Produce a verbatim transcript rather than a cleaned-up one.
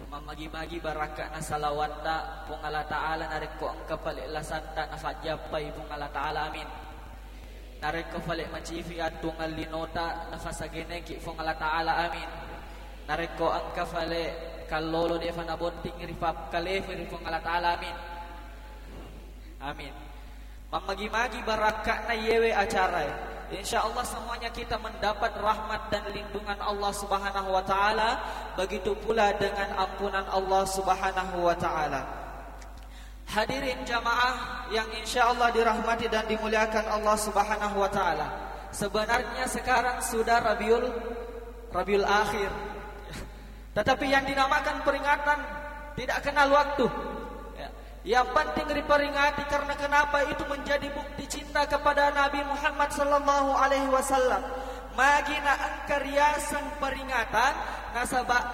Mammagi-magi barakka'na salawatta Puang Allah Ta'ala, narekko engka pale lasanta nafajjappai Puang Allah Ta'ala, amin. Narekko pale macifi attungang linota nafasageneki Puang Allah Ta'ala, amin. Narekko engka pale kallolo defa nabonting ripakkalefu ri Puang Allah Ta'ala, amin. Amin. Mammagi-magi barakka'na yewe acara. Insya Allah semuanya kita mendapat rahmat dan lindungan Allah Subhanahu wa Ta'ala, begitu pula dengan ampunan Allah Subhanahu wa Ta'ala. Hadirin jamaah yang insya Allah dirahmati dan dimuliakan Allah Subhanahu wa Ta'ala. Sebenarnya sekarang sudah Rabiul Rabiul Akhir. Tetapi yang dinamakan peringatan tidak kenal waktu. Ya. Yang penting diperingati karena kenapa, itu menjadi bukti cinta kepada Nabi Muhammad sallallahu alaihi wasallam. Magi na engka riaseng peringatan, nasaba